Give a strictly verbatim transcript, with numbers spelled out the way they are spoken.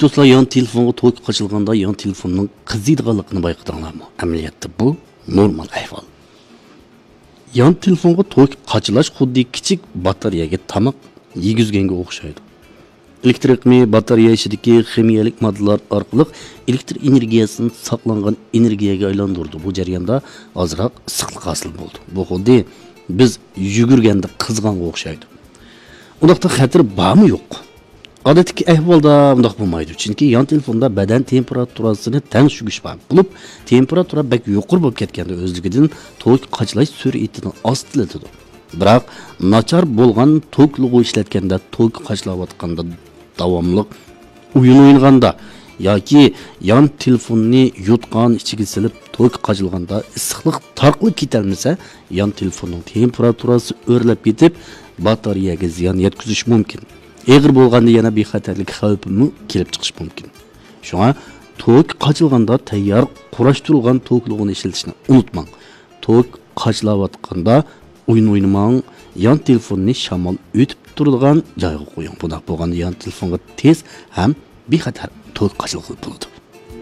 دوستلار، يان تېلېفونغا توك قاچىلىغاندا يان تېلېفوننىڭ قىزىيدىغانلىقىنى بايقىدىڭلارمۇ؟ ئەمەلىيەتتە بۇ نورمال ئەھۋال. يان تېلېفونغا توك قاچىلاش خۇددى كىچىك باتارېيەگە تاماق يېگۈزگەنگە ئوخشايدۇ. ئېلېكتر ئېقىمى باتارېيە ئىچىدىكى خىمىيەلىك ماددىلار ئارقىلىق ئېلېكتر ئېنېرگىيەسىنى ساقلانغان ئېنېرگىيەگە ئايلاندۇرىدۇ. بۇ جەرياندا ئازراق ئىسسىقلىق ھاسىل بولىدۇ. بۇ خۇددى بىز يۈگۈرگەندە قىزغانغا ئوخشايدۇ. ئۇنداقتا خەتىرى بارمۇ يوق؟ ئادەتتىكى ئەھۋالدا ئۇنداق بولمايدۇ، چۈنكى يان تېلېفوندا بەدەن تېمپېراتۇرىسىنى تەڭشىگۈچ بار بولۇپ، تېمپېراتۇرا بەك يۇقىرى بولۇپ كەتكەندە ئۆزلۈكىدىن توك قاچىلاش سۈرئىتىنى ئاستىلىتىدۇ. بىراق ناچار بولغان توكلىغۇ ئىشلەتكەندە، توك قاچىلاۋاتقاندا، داۋاملىق ئويۇن ئوينىغاندا ياكى يان تېلېفوننى يوتقان ئىچىگە سېلىپ توك قاچىلىغاندا ئىسسىقلىق تارقىلىپ كېتەلمىسە، يان تېلېفوننىڭ تېمپېراتۇرىسى ئۆرلەپ كېتىپ، باتارېيەگە زىيان يەتكۈزۈشى مۇمكىن. ئېغىر بولغاندا يەنە بىخەتەرلىك خەۋپىمۇ كېلىپ چىقىشى مۇمكىن. شۇڭا توك قاچىلىغاندا تەييار قۇراشتۇرۇلغان توكلىغۇنى ئىشلىتىشنى ئۇنتۇماڭ. توك قاچىلاۋاتقاندا ئويۇن ئوينىماڭ، يان تېلېفوننى شامال ئۆتۈپ تۇرىدىغان جايغا قويۇڭ. بۇنداق بولغاندا يان تېلېفونغا تېز ھەم بىخەتەر توك قاچىلىغىلى بولىدۇ.